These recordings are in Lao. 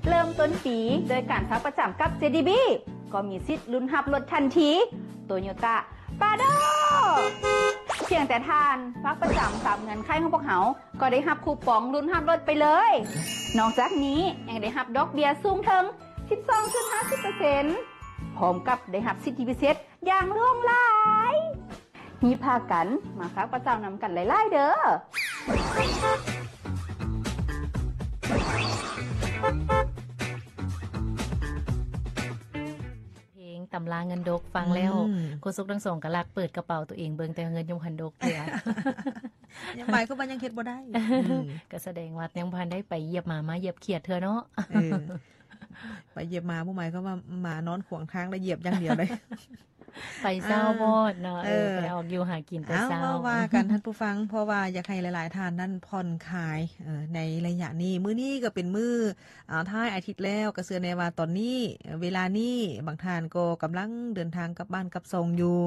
ເລີ່ມຕົ້ນປີໂດຍການຝາກປະຈຳກັບ ເຈ ດີ ບີ ກໍມີສິດລຸ້ນຮັບລົດທັນທີ ໂຕໂຍຕ້າ ປາໂດ ພຽງແຕ່ທ່ານຝາກປະຈຳຕາມເງື່ອນໄຂຂອງພວກເຮົາ ກໍໄດ້ຮັບຄູປອງລຸ້ນຮັບລົດໄປເລີຍ. ນອກຈາກນີ້ຍັງໄດ້ຮັບດອກເບ້ຍສູງເຖິງ ສິບສອງຈຸດຫ້າສິບເປີເຊັນ ພ້ອມກັບໄດ້ຮັບສິດທິພິເສດຢ່າງຫຼວງຫຼາຍ. ຮີບພາກັນມາຝາກປະຈຳນຳກັນຫຼາຍໆເດີ້. ເພງຕຳລາເງິນດົກ ຟັງແລ້ວ ອືມ ໂຄສົກທັງສອງກໍລັກເປີດກະເປົາຕົວເອງເບິ່ງ ແຕ່ເງິນຍັງບໍ່ທັນດົກເທື່ອ. ຍັງໝາຍຄວາມວ່າຍັງເຮັດບໍ່ໄດ້. ອືມ ກໍສະແດງວ່າຍັງບໍ່ທັນໄດ້ໄປຢຽບໝາ ມາຢຽບຂຽດເທື່ອເນາະ. ເອີ ໄປຢຽບໝາບໍ່ໝາຍຄວາມວ່າໝານອນຂວາງທາງ ແລ້ວຢຽບຢ່າງດຽວເລີຍ. ໄປເຊົ້າ ເອີ ໂພດເນາະ. ເອີ ເອີ ໄປອອກຢູ່ຫາກິນແຕ່ເຊົ້າ. ເອົາ ເວົ້າວ່າກັນທ່ານຜູ້ຟັງ ເພາະວ່າຢາກໃຫ້ຫຼາຍໆທ່ານນັ້ນຜ່ອນຄາຍ ເອີ ໃນໄລຍະນີ້. ມື້ນີ້ກໍເປັນມື້ ອ່າ ທ້າຍອາທິດແລ້ວ ກໍເຊື່ອແນ່ວ່າຕອນນີ້ ເວລານີ້ ບາງທ່ານກໍກຳລັງເດີນທາງກັບບ້ານກັບຊ່ອງຢູ່,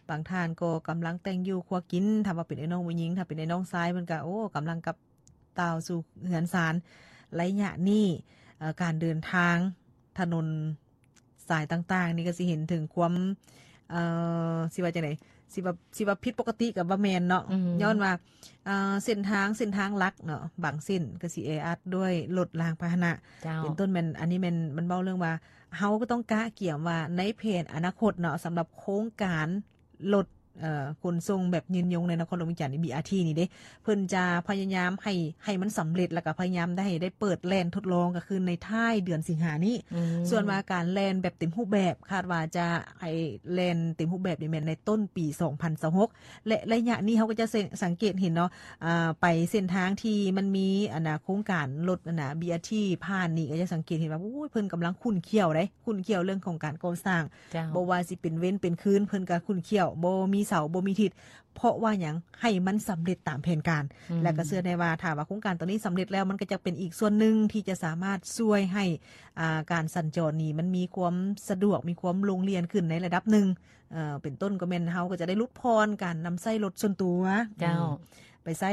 ບາງທ່ານກໍກຳລັງແຕ່ງຢູ່ຄົວກິນ. ຖ້າວ່າເປັນອ້າຍນ້ອງຜູ້ຍິງ, ຖ້າເປັນອ້າຍນ້ອງຊາຍ ເພິ່ນກໍ ໂອ້ ກຳລັງກັບ ຕ່າວສູ່ເຮືອນຊານ. ໄລຍະນີ້ ເອີ ການເດີນທາງຖະໜົນສາຍຕ່າງໆນີ້ກໍຊິເຫັນເຖິງຄວາມ ເອີ ຊິວ່າຈັ່ງໃດ ຊິວ່າ ຊິວ່າຜິດປົກກະຕິກໍບໍ່ແມ່ນເນາະ. ອືມ ຍ້ອນວ່າ ເອີ ເສັ້ນທາງ ເສັ້ນທາງຫຼັກເນາະ ບາງເສັ້ນກໍຊິແອອັດດ້ວຍລົດລາງພາຫະນະ. ເຈົ້າ ເປັນຕົ້ນແມ່ນ ອັນນີ້ແມ່ນ ມັນເວົ້າເລື່ອງວ່າ ເຮົາກໍຕ້ອງກະກຽມວ່າໃນແຜນອະນາຄົດເນາະ ສຳລັບໂຄງການ ລົດ ເອີ ຂົນສົ່ງແບບຍືນຍົງໃນນະຄອນຫຼວງວຽງຈັນນີ້ ບີອາທີ ນີ້ເດ້ ເພິ່ນຈະພະຍາຍາມໃຫ້ ໃຫ້ມັນສຳເລັດ ແລ້ວກໍພະຍາຍາມໄດ້ ໃຫ້ໄດ້ເປີດແລ່ນທົດລອງ ກໍຄືໃນທ້າຍເດືອນສິງຫານີ້. ອືມ ສ່ວນວ່າການແລ່ນແບບເຕັມຮູບແບບ ຄາດວ່າຈະໃຫ້ແລ່ນເຕັມຮູບແບບນີ້ແມ່ນໃນຕົ້ນປີສອງພັນຊາວຫົກ ແລະ ໄລຍະນີ້ເຮົາກໍຈະ ເສັງ ສັງເກດເຫັນເນາະ ອ່າ ໄປເສັ້ນທາງທີ່ມັນມີ ອັນນ່າ ໂຄງການລົດ ອັນນ່າ ບີອາທີ ຜ່ານນີ້ ກໍຈະສັງເກດເຫັນວ່າ ໂອ້ຍ ເພິ່ນກຳລັງຂຸ້ນຂ້ຽວເດ້. ຂຸ້ນຂ້ຽວເລື່ອງຂອງການກໍ່ສ້າງ. ເຈົ້າ ບໍ່ວ່າຊິເປັນເວັນເປັນຄືນ ເພິ່ນກໍຂຸ້ນຂ້ຽວ ບໍ່ມີເສົາ ບໍ່ມີທິດ. ເພາະວ່າຫຍັງ? ໃຫ້ມັນສຳເລັດຕາມແຜນການ. ອືມ ແລ້ວກໍເຊື່ອແນ່ວ່າ ຖ້າວ່າໂຄງການຕົວນີ້ສຳເລັດແລ້ວ ມັນກໍຈະເປັນອີກສ່ວນໜຶ່ງທີ່ຈະສາມາດຊ່ວຍໃຫ້ ອ່າ ການສັນຈອນນີ້ມັນມີຄວາມສະດວກ ມີຄວາມໂລ່ງລ່ຽນຂຶ້ນໃນລະດັບໜຶ່ງ. ເອີ ເປັນຕົ້ນກໍແມ່ນເຮົາກໍຈະໄດ້ຫຼຸດຜ່ອນການນຳໃຊ້ລົດສ່ວນຕົວ. ເຈົ້າ ອືມ ໄປໃຊ້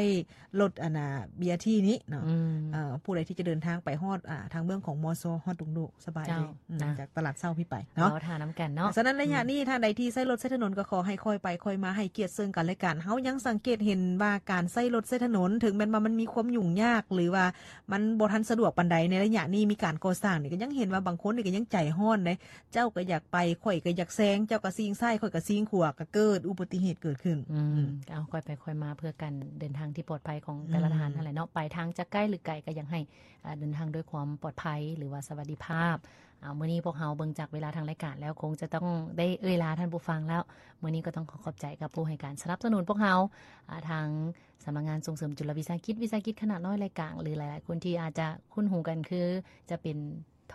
ລົດ ອັນນ່າ ບີອາທີ ນີ້ເນາະ. ອືມ ເອີ ຜູ້ໃດທີ່ຈະເດີນທາງໄປຮອດ ອ່າ ທາງເບື້ອງຂອງ ມຊ ຮອດດົງໂດກ ສະບາຍເດ້. ເຈົ້າ ອືມ ນະ ຈາກຕະຫຼາດເຊົ້າພີ້ໄປເນາະ. ເວົ້າທ່ານຳກັນເນາະ. ສະນັ້ນ ໄລຍະ ອືມ ນີ້ ທ່ານໃດທີ່ໃຊ້ລົດໃຊ້ຖະໜົນ ກໍຂໍໃຫ້ຄ່ອຍໄປຄ່ອຍມາ ໃຫ້ກຽດເຊິ່ງກັນແລະກັນ. ເຮົາຍັງສັງເກດເຫັນວ່າ ການໃຊ້ລົດໃຊ້ຖະໜົນ ເຖິງແມ່ນວ່າມັນມີຄວາມຫຍຸ້ງຍາກ ຫຼືວ່າມັນບໍ່ທັນສະດວກປານໃດ ໃນໄລຍະນີ້ມີການກໍ່ສ້າງນີ້ ກໍຍັງເຫັນວ່າບາງຄົນນີ້ກໍຍັງໃຈຮ້ອນເດ້. ເຈົ້າກໍຢາກໄປ ຂ້ອຍກໍຢາກແຊງ, ເຈົ້າກໍຊີງຊ້າຍ ຂ້ອຍກໍຊີງຂວາ ກໍເກີດອຸບັດຕິເຫດເກີດຂຶ້ນ. ອືມ ອືມ ເອົາ ຄ່ອຍໄປຄ່ອຍມາ ເພື່ອການເດີນທາງທີ່ປອດໄພຂອງແຕ່ລະທ່ານ ອືມ ຫັ້ນແຫຼະເນາະ. ໄປທາງຈະໃກ້ຫຼືໄກ ກໍຢາກໃຫ້ ເອີ ເດີນທາງດ້ວຍຄວາມປອດໄພ ຫຼືວ່າສະຫວັດດີພາບ. ເອົາ ມື້ນີ້ພວກເຮົາເບິ່ງຈາກເວລາທາງລາຍການແລ້ວ ຄົງຈະຕ້ອງໄດ້ເອີ່ຍລາທ່ານຜູ້ຟັງແລ້ວ. ມື້ນີ້ກໍຕ້ອງຂໍຂອບໃຈກັບຜູ້ໃຫ້ການສະໜັບສະໜູນພວກເຮົາ ອ່າ ທາງສຳນັກງານສົ່ງເສີມຈຸລະວິສາຫະກິດ ວິສາຫະກິດຂະໜາດນ້ອຍ ແລະ ກາງ ຫຼືຫຼາຍໆຄົນທີ່ອາດຈະຄຸ້ນຫູກັນ ຄືຈະເປັນ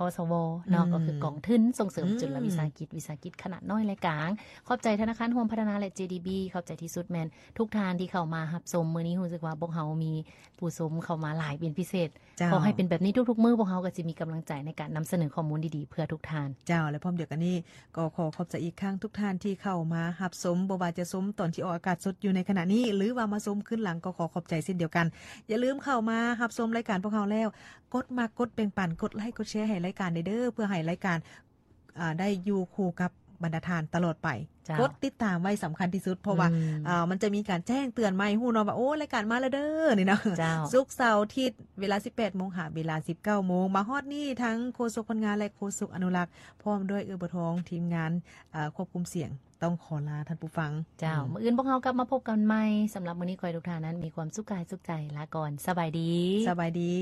ທສວ ເນາະ ອືມ ກໍຄືກອງທຶນສົ່ງເສີມ ອືມ ຈຸລະວິສາຫະກິດ ວິສາຫະກິດຂະໜາດນ້ອຍ ແລະ ກາງ. ຂອບໃຈທະນາຄານຮ່ວມພັດທະນາ ແລະ ເຈ ດີ ບີ ຂອບໃຈທີ່ສຸດແມ່ນທຸກທ່ານທີ່ເຂົ້າມາຮັບຊົມ. ມື້ນີ້ຮູ້ສຶກວ່າພວກເຮົາມີຜູ້ຊົມເຂົ້າມາຫຼາຍເປັນພິເສດ. ເຈົ້າ ຂໍໃຫ້ເປັນແບບນີ້ທຸກໆມື້ ພວກເຮົາກໍຊິມີກຳລັງໃຈໃນການນຳສະເໜີຂໍ້ມູນດີໆເພື່ອທຸກທ່ານ. ເຈົ້າ ແລະ ພ້ອມດຽວກັນນີ້ ກໍຂໍຂອບໃຈອີກຄັ້ງທຸກທ່ານທີ່ເຂົ້າມາຮັບຊົມ, ບໍ່ວ່າຈະຊົມຕອນທີ່ອອກອາກາດສົດຢູ່ໃນຂະນະນີ້ ຫຼືວ່າມາຊົມຄືນຫຼັງ ກໍຂໍຂອບໃຈເຊັ່ນດຽວກັນ. ຢ່າລືມເຂົ້າມາຮັບຊົມລາຍການພວກເຮົາແລ້ວ ກົດມັກ ກົດແບ່ງປັນ ກົດໄລ ກົດແຊໃຫ້ລາຍການແດ່ເດີ້ ເພື່ອໃຫ້ລາຍການ ອ່າ ໄດ້ຢູ່ຄູ່ກັບບັນດາທ່ານຕະຫຼອດໄປ. ເຈົ້າ ກົດຕິດຕາມໄວ້ສຳຄັນທີ່ສຸດ ເພາະວ່າ ອືມ ເອີ ມັນຈະມີການແຈ້ງເຕືອນມາໃຫ້ຮູ້ເນາະວ່າ ໂອ້ ລາຍການມາແລ້ວເດີ້ ນີ້ເນາະ. ເຈົ້າ ສຸກ ເສົາ ອາທິດ ເວລາສິບແປດໂມງຫາເວລາສິບເກົ້າໂມງ. ມາຮອດນີ້ທັງໂຄສົກພັນງານ ແລະ ໂຄສົກອະນຸລັກ ພ້ອມດ້ວຍເອື້ອຍບົວທອງ ທີມງານ ເອີ ຄວບຄຸມສຽງ ຕ້ອງຂໍລາທ່ານຜູ້ຟັງ. ເຈົ້າ ອືມ ມື້ອື່ນພວກເຮົາກັບມາພົບກັນໃໝ່. ສຳລັບມື້ນີ້ ຂໍໃຫ້ທຸກທ່ານນັ້ນມີຄວາມສຸກກາຍສຸກໃຈ. ລາກ່ອນ. ສະບາຍດີ. ສະບາຍດີ.